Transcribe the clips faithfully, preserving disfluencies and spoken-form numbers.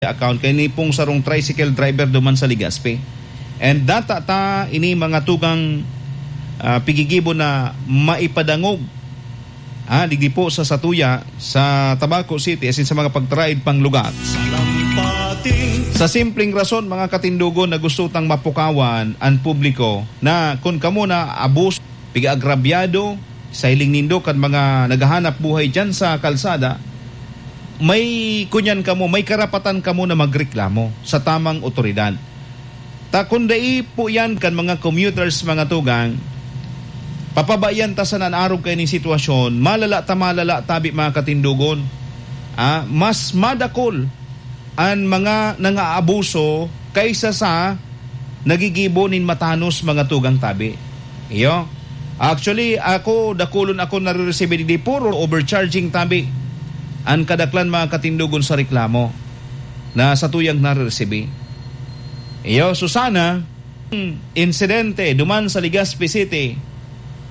account kay ni pong sarong tricycle driver duman sa Legazpi. And data ta ini mga tugang, ah, pigigibo na maipadangog, ah, digdi po sa satuya, sa Tabaco City, asin sa mga pagtaraid pang lugar. Sa simpleng rason, mga katindogon, na gusto tang mapukawan an publiko na kun kamo na abus, piga-agrabyado sa hiling nindo kan mga naghahanap buhay diyan sa kalsada, may kunyan kamo, may karapatan kamo na magreklamo sa tamang otoridad. Ta kun dai po yan kan mga commuters, mga tugang, papabayan ta sana an arog kaining sitwasyon, malala ta malala tabi, mga katindogon. Ah, mas madakol an mga nangaabuso kaysa sa nagigibo nin matanos, mga tugang tabi. Iyo. Actually, ako, dakulon ako nariresibi digdi, puro overcharging tabi an kadaklan, mga katindogon, sa reklamo na satuyang nariresibi. Iyo, so sana, insidente duman sa Legazpi City,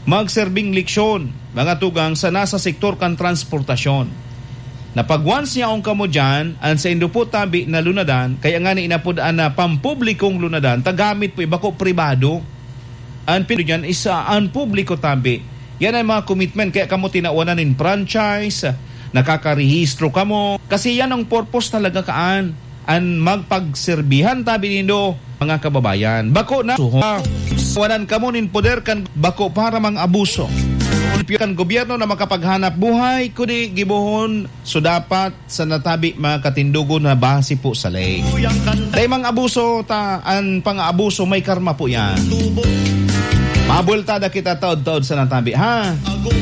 magserbing leksyon, mga tugang, sa nasa sektor kan transportasyon. Na pag once yaon kamo diyan, an saindo po tabi na lunadan, kaya nga ni inapod an, ah, pampublikong lunadan, ta gamit po, eh, bako pribado. An pin-, diyan is, ah, an publiko tabi. Yan ang mga commitment, kaya kamo tinawanan nin franchise, nakakarehistro kamo. Kasi yan ang purpose talaga kaan, an magpagserbihan tabi nindo, mga kababayan. Bako na suho. Wanan kamo nin poder kan bako para mang abuso. Kan gobyerno na makapaghanap buhay, kundi gibohon so dapat sa natabi, mga katindogon, na base po sa ley. Dai mang abuso ta, an pang-aabuso may karma po yan. Mabultada kita taod-taod sa natabi, ha?